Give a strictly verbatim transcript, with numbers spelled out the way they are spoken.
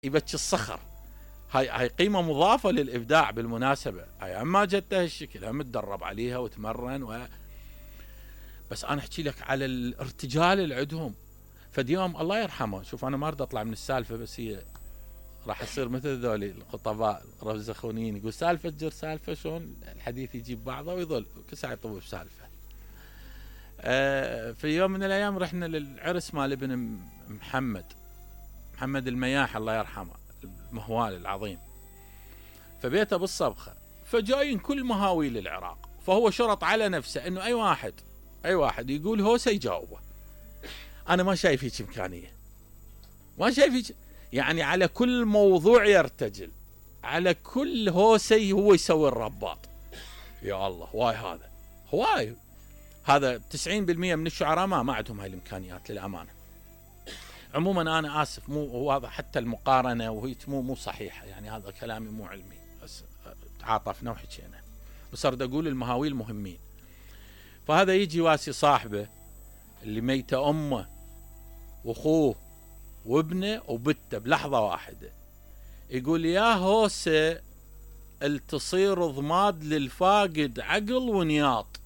يبكي الصخر. هاي هاي قيمة مضافة للإبداع بالمناسبة. هاي أما جته هالشكل هم تدرب عليها وتمرن و... بس أنا أحكي لك على الارتجال اللي عندهم. فديوم الله يرحمه، شوف أنا ما أريد أطلع من السالفة، بس هي راح يصير مثل ذولي الخطباء الرزخونيين، يقول سالفة تجر سالفة، شلون الحديث يجيب بعضه ويظل كل ساعة يطوف بسالفة. آه في يوم من الأيام رحنا للعرس مال ابن محمد محمد المياح الله يرحمه، المهوال العظيم، فبيته بالصبخة، فجايين كل مهاويل العراق، فهو شرط على نفسه انه اي واحد اي واحد يقول هوسه يجاوبه. انا ما شايف هيك امكانيه، ما شايف هيك، يعني على كل موضوع يرتجل، على كل هوسه هو يسوي الرباط. يا الله واي هذا هواي هذا تسعين بالمئة من الشعراء ما ما عندهم هاي الامكانيات للامانه. عموما انا اسف، مو واضح حتى المقارنه وهي مو مو صحيحه، يعني هذا كلامي مو علمي، بس تعاطفنا وحكينا، بس اريد اقول المهاويل مهمين. فهذا يجي واسي صاحبه اللي ميته امه واخوه وابنه وبته بلحظه واحده، يقول يا هوسه التصير ضماد للفاقد عقل ونياط.